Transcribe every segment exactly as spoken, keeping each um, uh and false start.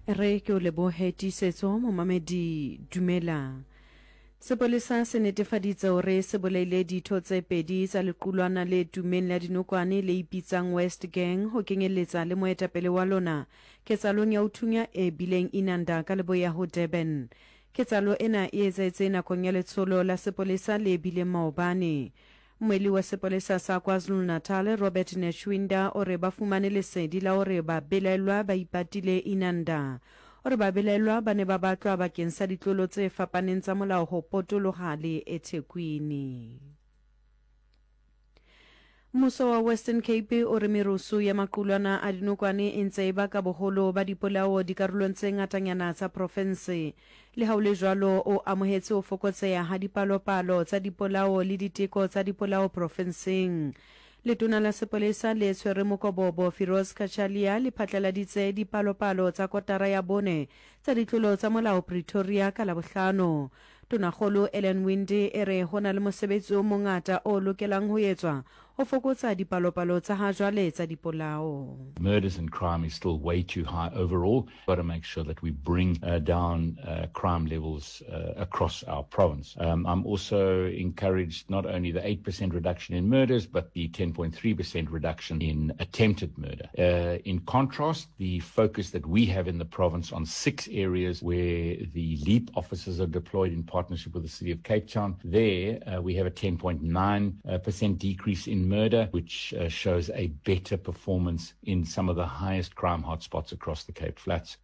Re ke o lebohe Tiisetso momamedi dumela. Sepolesa se netefaditse hore se bolaile ditho tse pedi tsa lequlwana le tummeng la dinokwane le ipitsang West Gang ho kenyelletsa le moetapele wa lona ketsahalong ya ho thunya e bileng Inanda ka leboya ho Durban. Ketsahalo ena e etsahetse nakong ya letsholo la sepolesa le bileng maobane. Mmuelli wa sepolesa sa KwaZulu-Natal, Robert Netshuinda o re ba fumane lesedi la hore babelaellwa ba ipatile Inanda. O re babelaellwa ba ne ba batlwa bakeng sa ditlolo tse fapaneng tsa molao ho potoloha le eThekwini. Mmuso wa Western Cape o re merusu ya maqulwana a dinokwane e ntse e baka boholo ba dipolao dikarolong tse ngatanyana tsa profense. Le ha ho le jwalo, o amohetse ho fokotseha ha dipalopalo tsa dipolao le diteko tsa dipolao profenseng. Letona la sepolesa le tshwere mokobobo Firoz Cachalia le phatlaladitse dipalopalo tsa kotara ya bone tsa ditlolo tsa molao Pretoria ka Labohlano. Tonakgolo Ellen Winde e re ho na le mosebetsi o mongata o lokelang ho etswa ho fokotsa dipalopalo tsa ha jwale tsa dipolao. Murders and crime is still way too high overall. Got to make sure that we bring uh, down uh, crime levels uh, across our province. Um, I'm also encouraged not only the eight percent reduction in murders, but the ten point three percent reduction in attempted murder. Uh, in contrast, the focus that we have in the province on six areas where the LEAP officers are deployed in partnership with the City of Cape Town, there uh, we have a ten point nine percent decrease in murder, which uh, shows a better performance in some of the highest crime hotspots across the Cape Flats.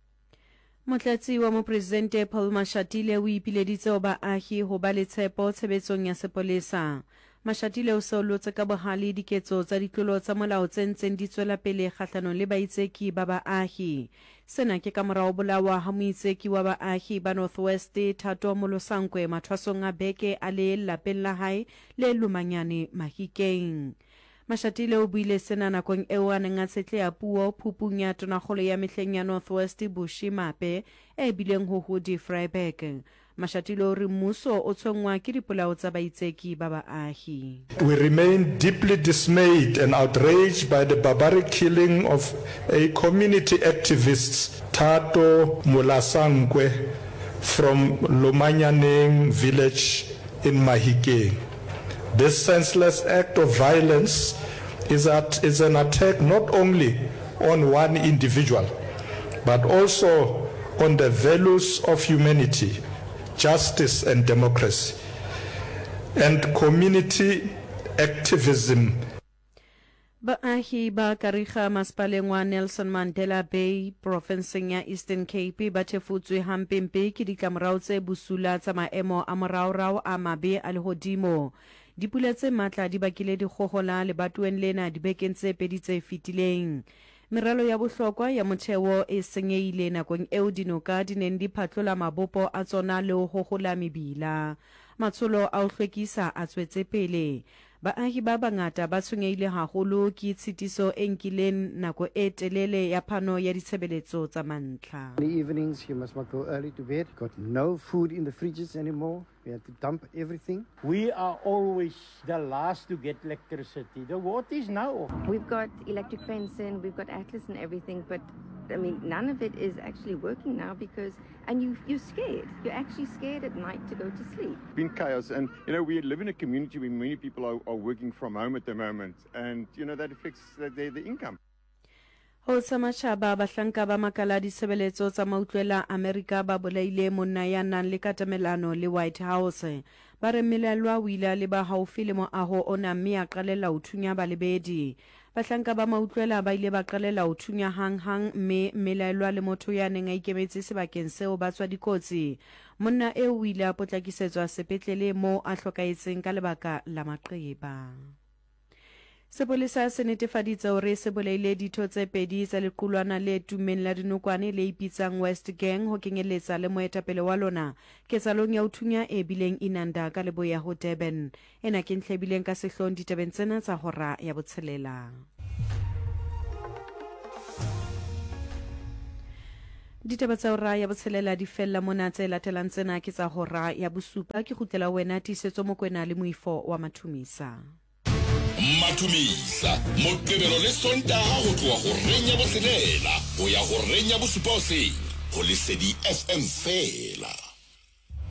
Motlatsi wa mopresidente Paul Mashatile o ipileditse ho baahi ho ba le tshepo tshebetsong ya sepolesa. Mashatile o solotse ka bohale diketso tsa ditlolo tsa molao tse ntseng di tswela pele kgahlanong le baitseki ba baahi. Sena ke ka morao bolawa ha moitseki wa baahi ba North West Thato Molosankwe mathwasong a beke a le lapeng la hae le Lumanyane Mahikeng. Mashatile o buile sena nakong eo a neng a tshetleha puo phupung ya tonakgolo ya mehleng ya North West Bushy Mape e bileng ho Hudi Vryburg. Mashatile o re mmuso o tshwenngwa ke dipolao tsa baitseki ba baahi. We remain deeply dismayed and outraged by the barbaric killing of a community activist Thato Molosankwe from Lomanyaneng village in Mahikeng. This senseless act of violence is, at, is an attack not only on one individual, but also on the values of humanity, justice and democracy, and community activism. Baahi ba Kariga masepaleng wa Nelson Mandela Bay profenseng ya Eastern Cape ba thefutswe hampempe ke ditlamorao tse bosula tsa maemo a moraorao a mabe a lehodimo. Dipula tse matla di bakile dikgohola lebatoweng lena dibekeng tse pedi tse fetileng. Meralo ya bohlokwa ya motheo e senyehile nakong eo dinoka di neng di phatlola mabopo a tsona le ho hohola mebila. Matsholo a ho hlwekisa a tswetse pele. Baahi ba bangata ba tshwenyehile haholo ke tshitiso e nkileng nako e telele ya phano ya ditshebeletso tsa mantlha. In the evenings you must not go early to bed. Got no food in the fridges anymore. We had to dump everything. We are always the last to get electricity. The water is now off. We've got electric fencing, we've got Atlas and everything, but I mean, none of it is actually working now because, and you, you're scared. You're actually scared at night to go to sleep. It's been chaos, and you know, we live in a community where many people are, are working from home at the moment, and you know, that affects their, their, their income. Ho tsa matjhaba, bahlanka ba makala a ditshebeletso tsa mautlwela Amerika ba bolaile monna ya nang le katamelano le White House. Ba re mmelellwa o ile a leba haufi le moaho ona mme a qalella ho thunya balebedi. Bahlanka ba mautlwela ba ile ba qalella ho thunya hang-hang mme mmelaellwa le motho ya neng a ikemetse sebakeng seo ba tswa dikotsi. Monna eo o ile a potlakisetswa sepetlele moo a hlokahetseng ka lebaka la maqeba. Sepolesa se netefaditse hore se bolaile ditho tse pedi tsa lequlwana le tummeng la dinokwane le ipitsang West Gang ho kenyeletsa le moetapele wa lona ketsahalong ya ho thunya e bileng Inanda ka leboya ho Durban. Ena ke ntlha e bileng ka sehloohong ditabeng tsena tsa hora ya botshelela. Ditaba tsa hora ya botshelela di fella mona, tse latelang tsena ke tsa hora ya bosupa. Ke kgutlela wena Tiisetso Mokwena le moifo wa Mathumisa. Mathumisa Moqebelo le Sontaha ho tloha horeng ya botshelela ho ya horeng ya bosupa hoseng. Go Lesedi F M fela.